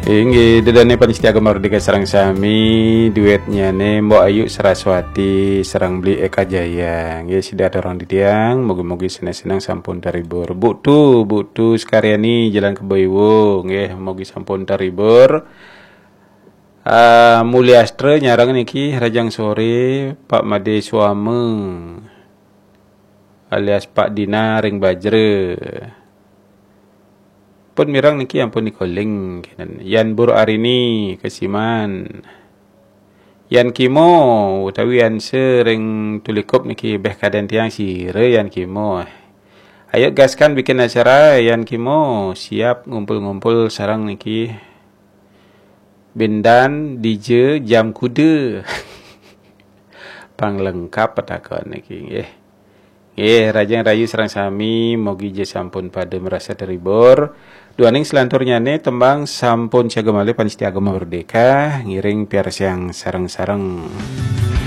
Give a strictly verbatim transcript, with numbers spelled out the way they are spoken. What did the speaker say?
Inggih, ida dané pamiarsa Gema Merdeka sareng sami, duétnyané Mbok Ayu Saraswati sareng Bli Eka Jaya. Inggih, sida aturang titiang, mugi-mugi seneng-seneng sampun terhibur. Buktu, Buktu Sekaryani Jalan Kebo Iwo, inggih, mugi sampun terhibur. Ah, Mulyastra nyareng niki, Rajang Sore, Pak Made Suama alias Pak Dina ring Bajra. Pun mireng niki ampun nika link kenen. Yan Bur Arini Kesiman. Yan Kimo utawi Yan Se ring Tulikup niki, beh kadén tiang sira Yan Kimo. Ayo gaskan bikin acara Yan Kimo, siap ngumpul-ngumpul sareng niki. Bindan, D J, jam kuda. Pang lengkap petakon niki nggih. Nggih, rahajeng rahayu sareng sami, mugi ja sampun pada marasa terhibur. Duaning selanturnyané tembang sampun siaga malih pamiarsa Gema Merdeka, ngiring piarsayang sareng-sareng.